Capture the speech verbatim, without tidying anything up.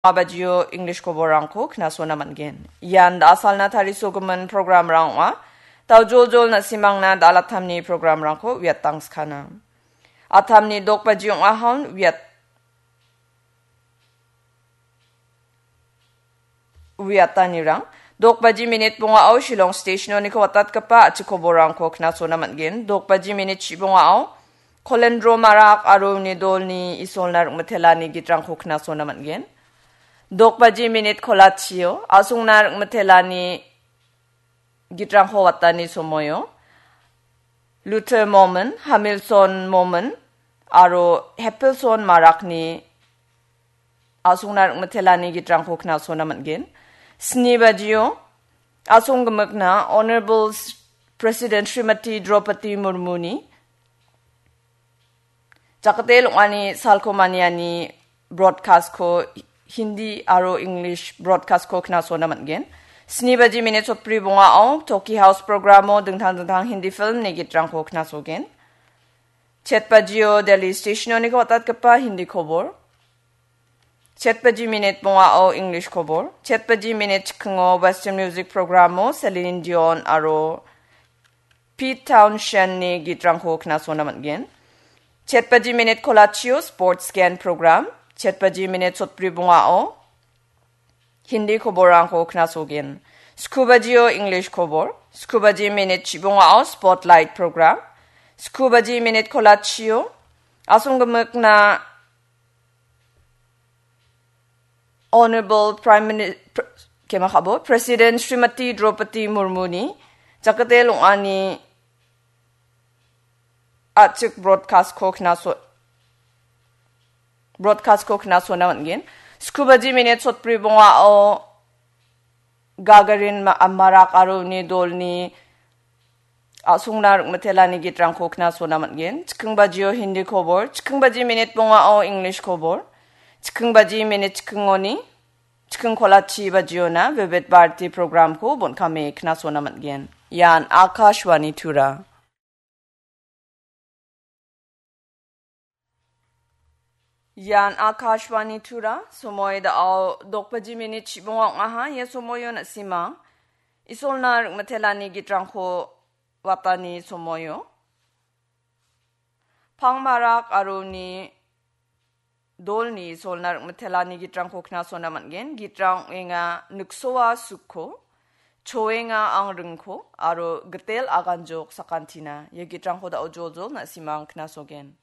bajio English koborrangko knasona man·gen. Ian da·asalna tarisogimin programrang ong·a. Daojoljol na·simangna da·alatamni programrangko uiatangskana. Atamni dok baji ong·ahon uiat-, uiatanirang. Dok baji minit bongao Shillong Station-oniko watatgipa a·chik koborrangko knasona man·gen. Dok baji minit chibongao Kolendro Marak aro uni dolni Isolna rim·itelani gitrangko knasona man·gen. Dok baji minit kolachio A·songna rim·itelani gitrangko watani somoio Luther Momon, Hamilton Momon aro Hepilson Marakni A·songna rim·itelani gitrangko knasona man·gen. Sni bajio A·song gimikna Honorable S-, President Srimati Draupadi Murmuni jakate long·ani salko maniani broadcast-ko Hindi aro English broadcast-ko knasona man·gen. Sni baji minit sotbri bongao Toki House programo dingtang dingtang Hindi film-ni gitrangko knasogen. Chet bajio Delhi Station-oniko watatgipa Hindi kobor. Chet baji minit bongao English kobor. Chet baji minit chikingo Western Music programo Celine Dion aro Pete Townshend-ni gitrangko knasona man·gen. Chet baji minit kolachio Sports Scan program. Chet baji minit sotbri bongao Hindi koborrangko knasogen. Sku bajio English kobor. Sku baji minit chibongao Spotlight program. Sku baji minit kolachio A·song gimikna Honorable Prime Mini-, Pr-, kemakabo, President Srimati Draupadi Murmuni jakate long·ani a·chik broadcast-ko knaso-, broadcast-ko knasona man·gen. Sku baji minit sotbri bongao Gagarin Ma-, Marak aro uni dolni A·songna rim·itelani gitrangko knasona man·gen. Chiking bajio Hindi kobor, chiking baji minit bongao English kobor, chiking baji minit chikingoni, chiking kolachi bajiona Vivid Bharati program-ko bon·kame knasona man·gen. Ian Akashvani Tura. Ian Akashvani Tura, somoi da·o dok baji minit chibonga ong·aha. Ia somoio na·simang Isolna rim·itelani gitrangko watani somoio. Pangmarak aro uni dolni Isolna rim·itelani gitrangko knasona man·gen. Gitrang ong·enga Niksoa Sukko, Choenga Ang Ringko aro Gitel Aganjok Sakantina. Ia gitrangko da·o joljol na·simang knasogen.